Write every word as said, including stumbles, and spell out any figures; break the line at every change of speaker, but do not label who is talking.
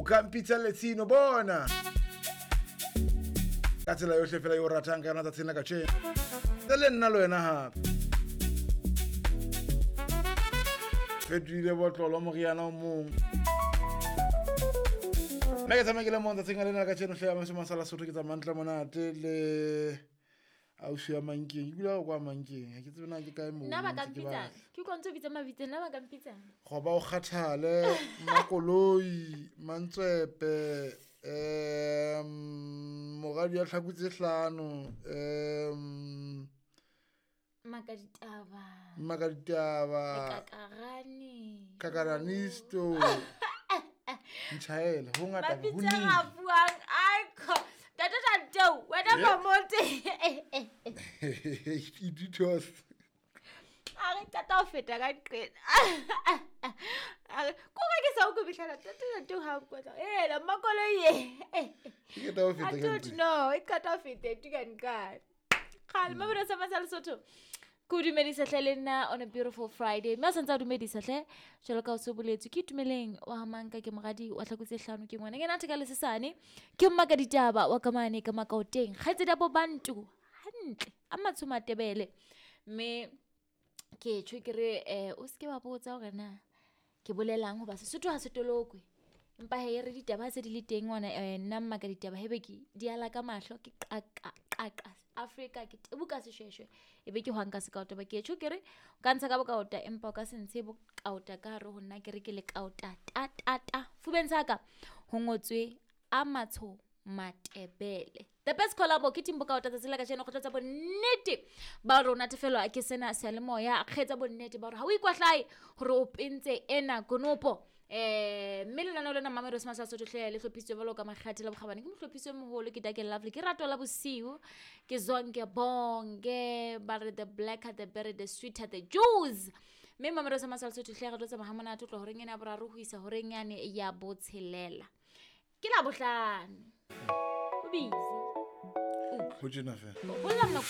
O ka mpitsa Letsino bona. Ka tsela yohle fela eo o ratang ka yona tsatsing la kajeno. Tse le nna le wena hape. Fetohile botlolo moriana o mong. Nna ke tsamaya ke le mong tsatsing lena la kajeno hle ya Masome a Sala Sotho, ke tsamaya ntle monate le ausi ya Mankeng. Ke dula kwa Mankeng, ha ke tsebe na ke kae moo.
Nna ba ka
ntse ke
mpitsang?
batla.
Ke utlwa ntse o bitsa mabitso, nna ba ka mpitsang?
Goba o kgathale, Makoloi, Mantswepe, um moradi ya tlhako tse hlano, um
Mmakaditaba.
Mmakaditaba.
Kakarane.
Kakaranisto. Ntjhaela, ho ngata, ho
Mabitso a
nile.
a buang, ai, kho. Ntate Tanteo, wena
Eh?
Mamote.
Ititos.
A re qeta ho feta ka nqena. A re, ko re ke sa o kubihlela, Ntate Tanteo ha o nkwetla. Ela, Mmakoloi e.
E qeta ho feta
I
ka
don't
nqena.
know, e qeta ho feta, e tuka nqane. Kgale, Mabelo sa Masala Sotho. Ke o dumedisa hle le nna on a beautiful Friday. Mme a santse a dumedisa hle, jwalo ka o se boletswe, ke Itumeleng wa ha Manka, ke moradi wa tlhako tse hlano, ke ngwana. Ke natha ka lesesane, ke Mmakaditaba wa ka mane ka Makaoteng. Kgaitsedi ya bo Bantu, hantle, a matsho Matebele. Mme ke tjho ke re, eh, o seke wa botsa hore na ke bolelang hoba Sesotho ha se tolokwe. Empa he re ditaba ha se di le teng ngwana, eh, nna Mmakaditaba hebe ke di ala ka mahlo, ke qaqa, qaqa Afrika, ke tebuka seshweshwe, e be ke hwang ka sekaota. Ba ke tjho ke re, o ka ntsha ka bokaota, empa o ka se ntshe bokaota ka hare ho nna, ke re ke lekaota, ta, ta, ta. Fubeng sa ka ho ngotswe a matsho Matebele. The best collabo ke Team Bokaota tsatsi la kajeno, go tlatsa bonnete ba rona natefelwa ke sena seyalemoya, kgetsa bonnete ba hore ha o ikwahlae hore o pentse ena konopo. Eh, mme lenaneo lena Mamelodi Smash Sotho hle le hlophisitswe jwalo ka makgathe la bokgabane. Ke mohlophisi o moholo, ke Dake Lovely, ke rato la bosiu, ke Zonke Bonke, ba re the blacker the berry, the sweeter the juice. Mme Mamelodi Smash Sotho hle re tlo tsamaya ha monate ho tloha horeng ena ya boraro ho isa horeng yane ya botshelela. Ke la bohlano. O busy.
Ho tjena fela.
Ho lla nako